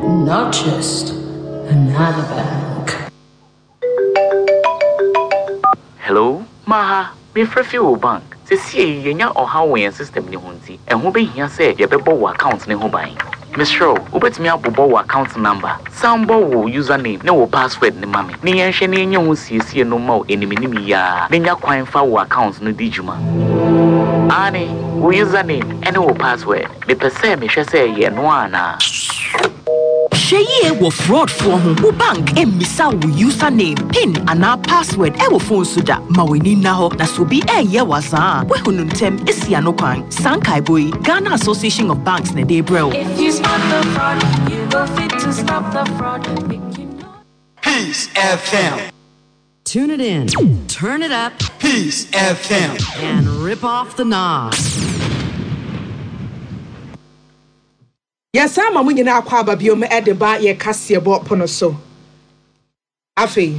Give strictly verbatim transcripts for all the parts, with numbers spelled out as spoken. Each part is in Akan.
Not just another bank. Hello, Maha, mefrɛ fi wo bank. Seesei yɛnya ɔhaw wɔ yɛn system ne ho nti, ɛho bɛhia sɛ yɛbɛbɔ wo account ne ho ban. Mesrɛ wo, wobɛtumi abobɔ wo account number, san bɔ wo username ne wo password ne ma me, ne yɛnhwɛ ne yɛnyɛ ho siesie no ma wo animanim yi ara, na nya kwan fa wo account no di dwuma. Ane, wo username ɛne wo password. Mepɛ sɛ mehwɛ sɛ ɛyɛ no anaa. Hwɛ yie wɔ fraudfoɔ ho. Wo bank mmisa wo username, PIN anaa password ɛwɔ phone so da. Ma w'ani nna hɔ na sɛ obi ɛyɛ wazaa a, woahu no ntɛm esi ano kwan. Saa nkaebɔ yi, Ghana Association of Banks na ɛde brɛ wo. If you spot the fraud, you go fit to stop the fraud. Make you know. Peace F M. Tune it in, turn it up, Peace F M. and rip off the knob. Yɛsan ma mo nyinaa akɔ aba biom de ba yɛ kaseɛbɔ pono so afei.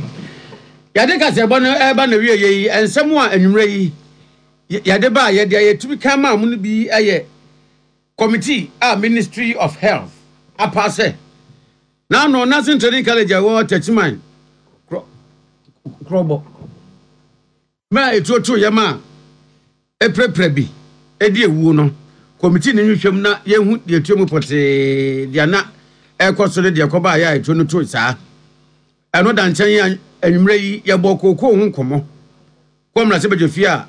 Yɛde kaseɛbɔ no ɛreba na wie yɛ yi, nsɛm a anwummerɛ yi yɛde ba a yɛde a yɛtumi kan maa mo no bi yɛ committee a Ministry of Health apa sɛ n'ano Nursing Training College a ɛwɔ Techiman Korɔbɔ ma etuotuo yɛ ma epirapira bi edi ewuo no, committee ne nhwehwɛm na yɛhu deɛ etuo mu pɔtee, deɛ na ɛrekɔ so ne deɛ ɛkɔba a yɛ a etuo no to saa. Ɛno da nkyɛn a, anwummerɛ yi yɛbɔ kookoo ho nkɔmmɔ kɔ mmarahyɛbadwa fie a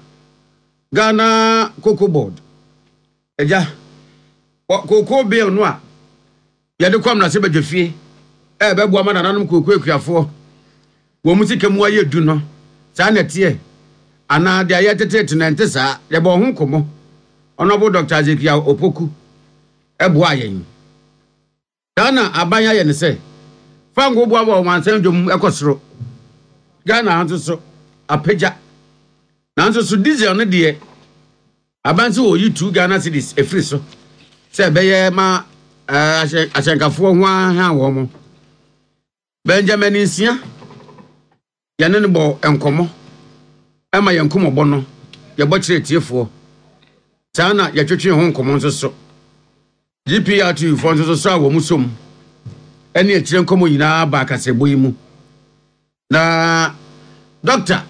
Ghana Cocoa Board agya kookoo bill no a yɛde kɔ mmarahyɛbadwa fie ɛbɛboa ma nananom kookoo akuafoɔ wɔn mu sika mu ayɛ du no, saa na ɛteɛ anaa deɛ yɛtetete no ɛnte saa? Yɛbɔ ho nkɔmmɔ. Honourable Doctor Ezekiel Opoku ɛboa yɛn. Ghana aban ayɛ ne sɛ fango boaboa wɔn ansan dwom ɛkɔ soro. Ghana ha nso so apagya, nanso so diesel no deɛ, aban sɛ wɔyi two Ghana cedis efiri so sɛ ɛbɛyɛ ma ɛɛ ahyɛnkafoɔ ho aha wɔn mo. Benjamin Nsia, yɛne no bɔ nkɔmmɔ ɛma yɛn nkɔmmɔbɔ no yɛbɔ kyerɛ tiefoɔ saa na yɛtwetwe ho nkɔmmɔ nso so. G P R T U foɔ nso so a wɔn som ɛne akyire nkɔmmɔ nyinaa ba akasɛbɔ yi mu. Na dɔkta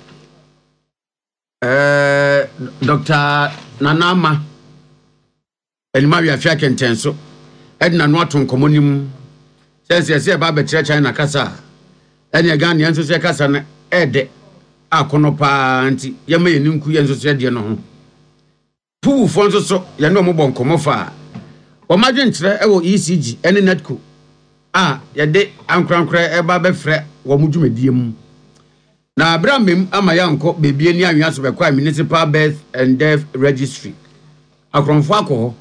ɛɛ Doctor Nana Ama anim awiafe akɛntɛn so ɛde n'ano ato nkɔmmɔ no mu sɛ sɛ sɛ ɛba abɛkyerɛ China kasa a, ɛne Ghana yɛn nso sɛ kasa no ɛɛdɛ akɔnɔ paa, nti yɛma yɛn nku yɛn nso so ɛdeɛ no ho. Puwufoɔ nso so yɛne wɔn bɔ nkɔmmɔ fa a wɔn adwenkyerɛ ɛwɔ E C G ɛne NEDCo a yɛde ankorankorɛ ɛba bɛfrɛ wɔn dwumadie mu. Na abere amem ama yɛankɔ beebi ani anwea so bɛkɔ a Municipal Birth and Death Registry, akorɔmfoɔ akɔ hɔ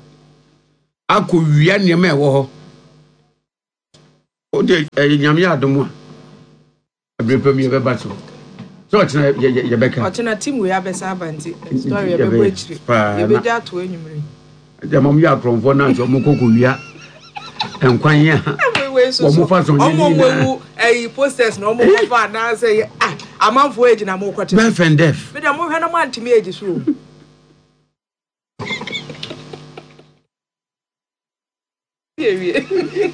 akɔ wia nneɛma a ɛwɔ hɔ. O de ɛyɛ Nyame yɛ adom a, abere pam yɛbɛba so sɛ ɔkyena yɛbɛka. Ɔkyena team wei abɛsa aba, nti story yɛbɛbɔ akyire, yɛbɛgya ato anwummere. Gyama mo yɛ akorɔmfoɔ na nso ɔmo kɔ kɔ wia nkwan a wɔn fa so nyɛ ɔmo ɔmo ewu ɛyi posters na ɔmo kɔfa anaasɛ ah, amanfoɔ egyina mo kɔte. Birth and death. Mi dɛ mo hwɛ na mo antumi egyi so o. Ewie.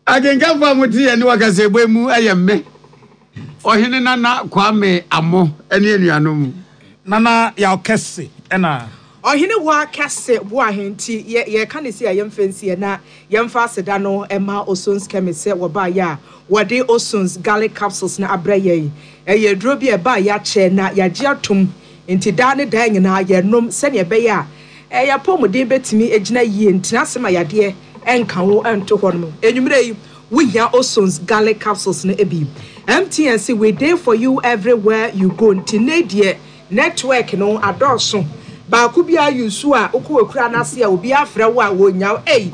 Akenkanfo a mote yɛn ne wakasa ebo mu ɛyɛ mme Ɔhene Nana Kwame Amo ne anuanom. Nana Yaw Kɛse ɛna. Ɔhene hɔ akɛse bo ahenti yɛ yɛka ne si a yɛmfa nsiɛ na yɛmfa aseda no ɛma Osons Chemist sɛ wɔbaayɛ a wɔde Osons Garlic Capsules na abrɛ yɛn. Ɛyɛ aduro bi a ɛbaa yɛakyɛ na yɛagye atom, nti daa ne daa nyinaa yɛnom sɛnea ɛbɛyɛ a ɛyɛ apɔmuden bɛtumi gyina yie, ntena ase ma yadeɛ ɛnka wo ɛnto hɔ nom. Enwummerɛ yi wohia Osons Garlic Capsules no bi. M T N se we dey for you everywhere you go, nti ne deɛ network no adɔɔso, baako bi ayi so a wokɔ ekura n'ase a obi afrɛ wo a wonya wo. Ei,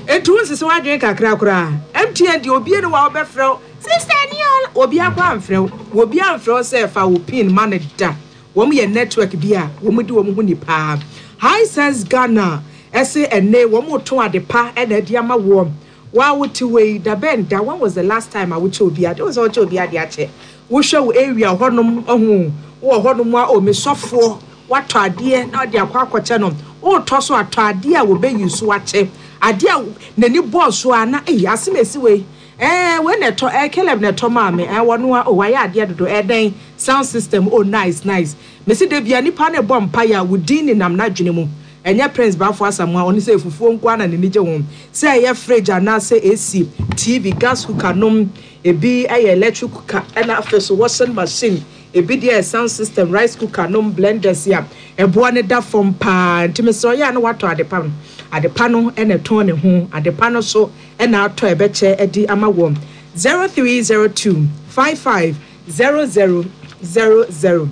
etu nsisi wadwene kakra koraa. M T N deɛ, obi ne wa wɔbɛfrɛ wo sister ni ɔla, obi akɔ amfrɛ wo, obi amfrɛ wo sɛ fa wo PIN ma ne da. Wɔn yɛ network bi a wɔn di wɔn ho ni paa. Hisense Ghana ɛsɛ ɛnɛ wɔn to ade pa ɛna ɛde ama wɔn. Waa, wote wei da bɛn da? When was the last time a wokyɛ obi ade? Wɔn sɛ wɔkyɛ obi ade akyɛ, wohwɛ wo area hɔnom, ɔho wɔ hɔnom a omisɔfoɔ watɔ adeɛ na ɔde akɔ akɔkyɛ no, wotɔ so atɔ adeɛ a wɔbɛyi so akyɛ. Adeɛ a n'ani bɔɔ so a na eyi asem esi wei ɛɛ wei na ɛtɔ ɛɛ Caleb na ɛtɔ maame ɛɛ wɔn a o wayɛ adeɛ dodo ɛdɛn sound system oh nice nice. Mesi de bia nipa ne bɔ mpa ya wudin ne nam n'adwene mu. Ɛnyɛ Prince Bafo Asamoah ɔno sɛ fufuo nko ana n'ani gye ho sɛ ɛyɛ fridge anaasɛ A C, T V, gas cooker nom ebi ɛyɛ electric cooker, ɛna afei so washing machine, ebi deɛ sound system, rice cooker nom, blenders a ɛboa ne da fam paa. Nti mesɛ ɔyɛ a na watɔ adepa no, adepa no ɛna ɛtɔn ne ho, adepa no so ɛna atɔ ɛbɛkyɛ ɛde ama wɔn. Zero three zero two five five zero zero zero zero.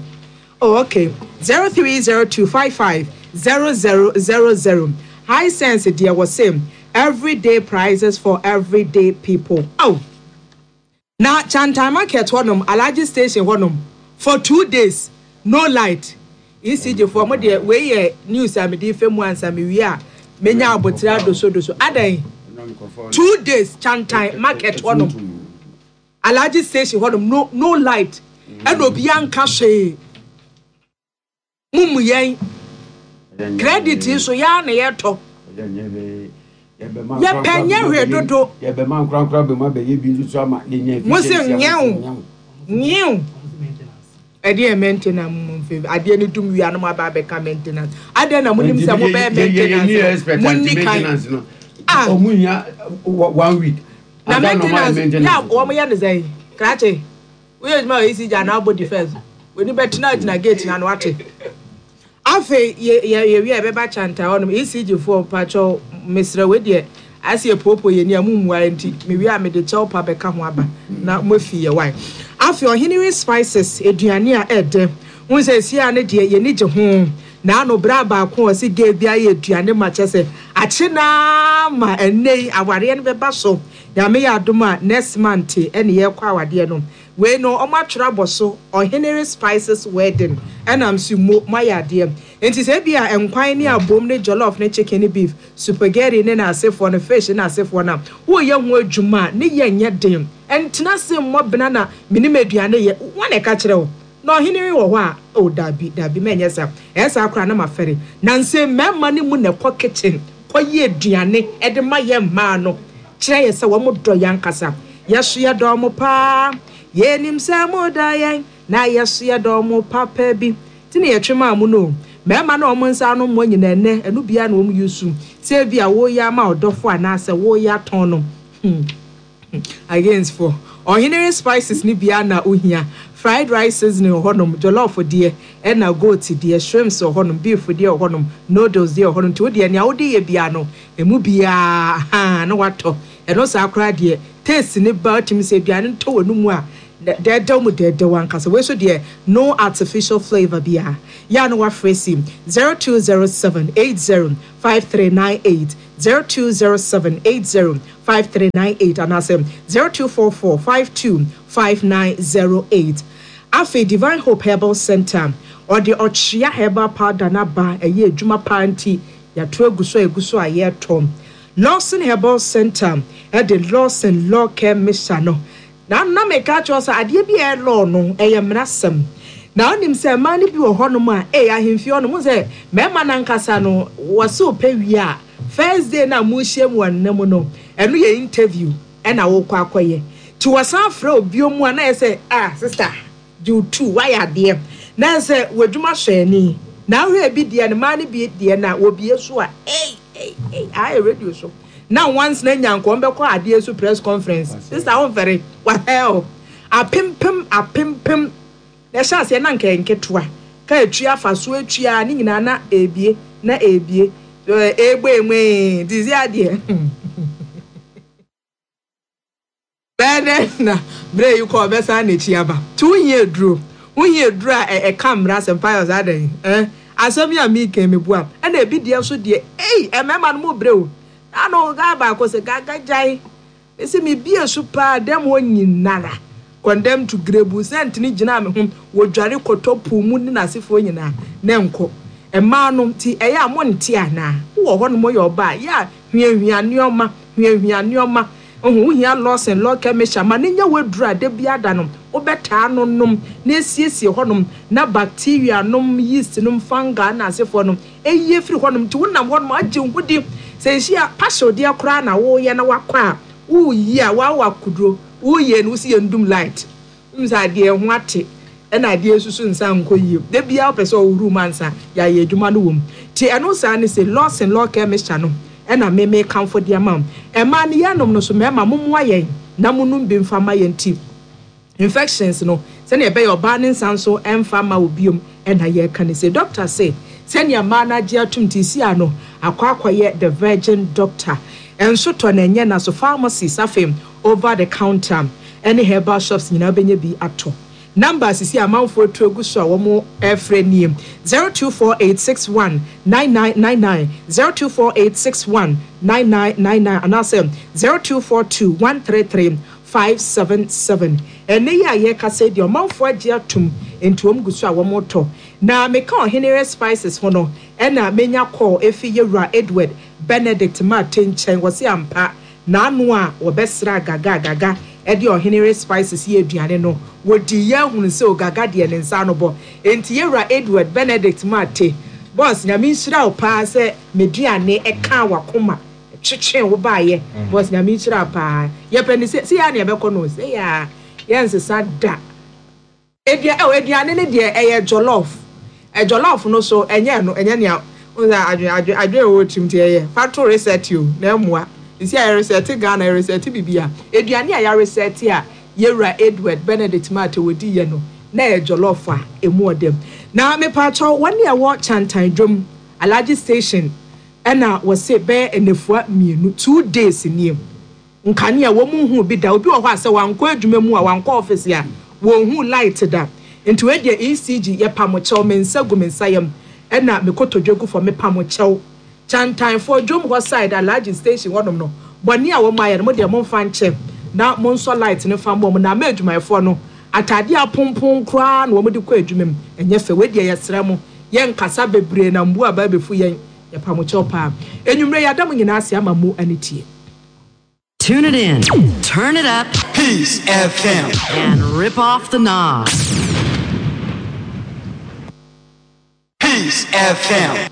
Oh, okay, zero three zero two five five zero zero zero zero. Hisense deɛ wɔ same everyday prices for everyday people. Oh, na Chantan Market hɔnom, Alhaji Station hɔnom, for two days no light. E C G foɔ mo deɛ, wei yɛ news a mede fɛ mu ansa mewie a menya abotire adosodoso adan. Two days Chantan Market hɔnom, Alhaji Station hɔnom, no no light, ɛna obiara nka hwee. Mumu yɛn credit yi so yaa na yɛtɔ yɛpɛ nyɛ hwee dodo. Yɛbɛma nkorankora bɛmu abɛyɛ bi nso so ama yɛnya Mo se efficiency nyɛw. ama Nyew, ɛdeɛ maintenance mu mfe adeɛ no dum wia no mo aba abɛka maintenance adeɛ na mo nim sɛ mo bɛyɛ maintenance no mo nni kan. Maintenance no Ah. ɔmo nya one week Na ansa na ɔmo ayɛ maintenance yà wɔn yɛ ne sɛn krakye woyɛ adwuma wɔ E C G anaa abɔ defence w'ani bɛtena gyina gate na no ate. Afei yɛ yɛ yɛwie a yɛbɛba Kyanta hɔnom. E C G foɔ, mpakyɛw mesrɛ, wei deɛ ase yɛ poopoo yɛ ni a mu mmua nti mewie a mede kyɛw pa bɛka ho aba na mo afi yɛ wae. Afei Ɔhenere Spices, aduane a ɛɛdɛ n sɛ esi a ne deɛ yɛni gye ho na ano bere baako a ɔsi gay bi ayɛ aduane ma kyɛ sɛ akye naa ma ɛnɛ yi awareɛ no bɛba so. Nyame yɛ adom a next month ɛne yɛkɔ awadeɛ no. Wei no ɔmo atwerɛ abɔ so Ɔhenere Spices Wedding, ɛnam so mo moayɛ adeɛ. Nti sɛ ebi a nkwan ne abom ne jollof ne chicken ne beef, spaghetti ne n'asefoɔ no, fish ne n'asefoɔ no a woyɛ ho adwuma a ne yɛ nyɛ den. Ɛntena se mmɔ bena na menim aduane yɛ wɔn na ɛka kyerɛ wo na ɔhene wɔ hɔ a o dabi dabi mɛnyɛ saa. Ɛyɛ saa koraa na ma fɛre na nse mmarima no mu na ɛkɔ kitchen kɔyɛ aduane ɛde ma yɛ mmaa no kyerɛ yɛ sɛ wɔn dɔ yɛn ankasa. Yɛso yɛ dɔ mo paa, yɛnim sɛ mo da yɛn na yɛso yɛ dɔ mo papa bi ti na yɛtwe maa mo no. Mmarima na wɔn nsa ano mmɔ nyinaa ɛnɛ ɛno bia na wɔn yi su sɛ ebi a wɔreyɛ ama ɔdɔfo anaasɛ wɔreyɛ atɔn no hmm against for Ɔhenere Spices ni bia na ohia fried rice seasoning wɔ hɔnom, jollof deɛ ɛna goat deɛ, shrimps wɔ hɔnom, beef deɛ wɔ hɔnom, noodles deɛ wɔ hɔnom. Nti wodeɛ nea wode yɛ bia no emu biara ha na watɔ ɛno saa koraa deɛ taste ne ba wotumi sɛ aduane ntɔ wɔ no mu a dɛɛdɛw mu dɛɛdɛw ankasa. Wei so deɛ no artificial flavour biara yɛa no wafrɛ si zero two zero seven eight zero five three nine eight, zero two zero seven eight zero five three nine eight anaasɛ zero two four four five two five nine zero eight. Afei Divine Hope Herbal Center ɔde ɔkyea herbal powder n'aba, ɛyɛ adwuma paa nti yɛato agu so a egu so a yɛretɔ. Lawson Herbal Center ɛde Lawson Law Care Mixture no na na meka kyerɛ sɛ adeɛ bi a ɛyɛ law no ɛyɛ mmerasɛm na wonim sɛ mmaa no bi wɔ hɔnom a ɛyɛ ahemfie hɔnom sɛ mmarima no ankasa no wɔse wopɛ wie a first day na mohyia mu wɔ nna mu no, ɛno yɛ interview ɛna wokɔ akɔyɛ nti wɔsan frɛ obio mu a na yɛ sɛ ah, sister gye wo tu wayɛ adeɛ na yɛ sɛ w'adwuma sɔ ani na ahwɛ bi deɛ no mmaa no bi deɛ na wɔbie so a ei ei ei ayɛ radio so na once na nya nkɔm bɛkɔ adeɛ so press conference, sister wo mfɛre wahɛl apempem apempem na ɛhyɛ aseɛ na nka nketewa ka etua afa so etua ne nyinaa na ebie na ebie egbe enwe dizi adeɛ bɛɛ dɛ na bere yi kɔ ɔbɛsan n'akyi aba. Tí wohia eduro, wohia eduro a ɛka mmara asɛm payɔ saa dɛn ɛn asɛm yi a mi kɛn mi bu a ɛna ebi deɛ nso deɛ ei mmarima no mo brɛ o ano gaa baako sɛ gaga gyae esi mi bie so paa dɛm hɔ nyinara condemn to grebu sɛntini gyina mi ho wodware kɔtɔ puu mu ne n'asefoɔ nyinaa ne nkɔ mmaa no ti ɛyɛ a mo nte anaa wowɔ hɔ nom yɛ ɔbaa yɛ a hwiahwia nneɛma hwiahwia nneɛma ohun wohia Lawson Law Chemistry ma ne nya waduru a da bi ada no wobɛtaa no nom na esiesie hɔnom na bacteria nom, yeast nom, fungi na asefoɔ nom eyi efiri hɔnom nti wonam hɔnom agye nhudi Sɛ nhyia passion deɛ koraa na woyɛ na wakɔ a woyi a wawa kuduro woyɛ no wosi yɛ ndum light nsa adeɛ ho ate ɛna adeɛ susu nsa nkɔ yie de bia wopɛ sɛ ɔwuru mu ansa yɛayɛ adwuma no wɔ mu. Nti ɛno saa ne sɛ Lawson Law Care Mixture no ɛna meme kamfo de ama wo. Ɛmaa no yɛnom no so mmarima mommoa yɛn na monom bi mfa ma yɛn ti infections no sɛnea ɛbɛyɛ ɔbaa ne nsa nso ɛmfa ma wo biom. Ɛna yɛka ne sɛ doctor sɛ sɛnea mmaa no agye atom ti si ano akɔ akɔyɛ the virgin doctor ɛnso tɔ na ɛnyɛ na so pharmacies afei over the counter ɛne herbal shops nyinaa bɛnya bi atɔ. Number sisi amanfoɔ atu agu so a wɔn ɛfrɛ nie zero two four eight six one nine nine nine nine zero two four eight six one nine nine nine nine anaasɛ zero two four two one three three five seven seven. Ɛnɛ yi a yɛkasa deɛ ɔmanfoɔ agye atum nti wɔn gu so a wɔn tɔ. Na meka Ɔhenere Spices ho no ɛna menya call efi yɛwura Edward Benedict Mate nkyɛn. Wɔsi ampa n'ano a wɔbɛsra Gaga Gaga ɛde Ɔhenere Spices yɛ aduane no wɔdi yɛ ahunu sɛ Ogaga deɛ ne nsa ano bɔ. Nti yɛwura Edward Benedict Mate, boss, Nyame nhyira wo paa sɛ meduane ɛka wakoma twetwe wo baayɛ. Boss, Nyame nhyira wo paa. Yɛpɛ ne sɛ sɛ yɛ a ne yɛbɛkɔ no sɛ yɛ a yɛnsesa da. Edua ɛwɔ aduane ne deɛ ɛyɛ jollof. Ɛ jollof no so ɛnyɛ no ɛnyɛ nea n sɛ adwe adwe adwe ɛwɔ tirim ti ɛyɛ fa to reset o na ɛmoa nsi a yɛreset Ghana, yɛreset bibi a aduane a yɛreset a yɛwura Edward Benedict Mate wɔdi yɛ no na ɛyɛ jollof a emu ɔdɛm. Na mepaakyɛw wɔn a ɛwɔ Kyantan dwom Alhaji Station ɛna wɔse bɛyɛ nnafua mmienu, two days nie, nkanea wɔn mu hu bi da. Obi wɔ hɔ a sɛ wankɔ adwuma mu a wankɔ office a wɔn hu light da. Nti wei deɛ E C G yɛpam kyɛw, me nsa gu me nsa yam ɛna me kotodwe gu fam, mepam kyɛw. Kyantanfoɔ dwom hɔ side Alhaji Station hɔnom no, bɔnne a wɔn ayɛ no mo deɛ momfa nkyɛ na monsɔ light no fa mbɔ mo. Na ama adwumayɛfoɔ no ataadeɛ apompon koraa na wɔn de kɔ adwuma mu ɛnyɛ fɛ. Wei deɛ yɛsrɛ mo, yɛnkasa bebree na mbu aba abɛfu yɛn. Yɛpam kyɛw paa. Enwummerɛ yɛada mo nyinaa ase ama mo ani tie. Tune it in, turn it up, Peace F M. And rip off the knob. Peace F M.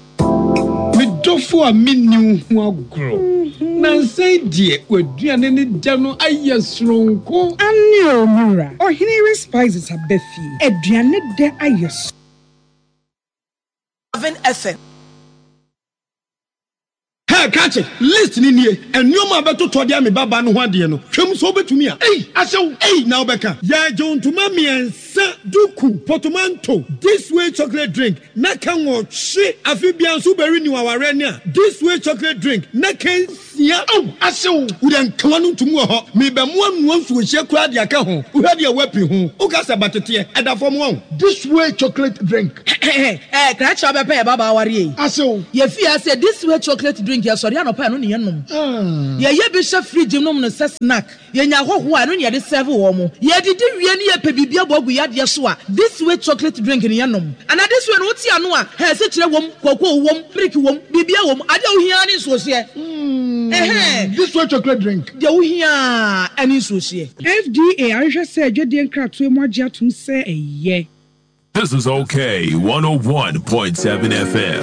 Me dɔfo a menni wo ho agorɔ nansɛn deɛ w'aduane ne da no ayɛ soronko. Ane o, mewura Ɔhenere Spices aba fie, aduane dɛ ayɛ so. Seven F M. Hey, krakye, list ni nie. Nneɛma a bɛtotɔ de ame baba no ho adeɛ no twam so wobɛtumi a ei ahyɛw ei na wobɛka yɛagye ntoma mmiɛnsa, duku, potomanto, This Way chocolate drink na ka nwɔtwe. Afe bia nso wobɛre ni wawareɛ ne a This Way chocolate drink na ka nsia. Aw, ahyew wode nkawa no ntom wɔ hɔ mebɛmoa noa nsuohyɛ koraa de aka ho. Wohwɛ deɛ woapi ho woka sɛ bateteɛ ɛda fam wɔn. This Way chocolate drink. Ɛɛ, krakye, wobɛpɛ yɛ baba aware yi. Ahyew. Yɛfie ase This Way chocolate drink, yɛsɔre anɔpa, ɛno ne yɛnom. Yɛyɛ bi hyɛ fridge nom no sɛ snack. Yɛnya ahɔhoɔ a, ɛno ne yɛde serve wɔ mo. Yɛdidi wie ne yɛpɛ biribi abɔ agu yɛadeɛ so a, This Way chocolate drink ne yɛnom. Ana This Way no wote ano a hɛ sɛkyerɛ wom, kookoo wom, milk wom, biribia wom. Adeɛ a wohia ne nsuohyeɛ. Ɛhɛn. This Way chocolate drink. Deɛ wohia ne nsuohyeɛ. F D A ahwehwɛ sɛ adwadeɛ nkratoɔ mu agye atom sɛ ɛyɛ. This is Okay one oh one point seven F M.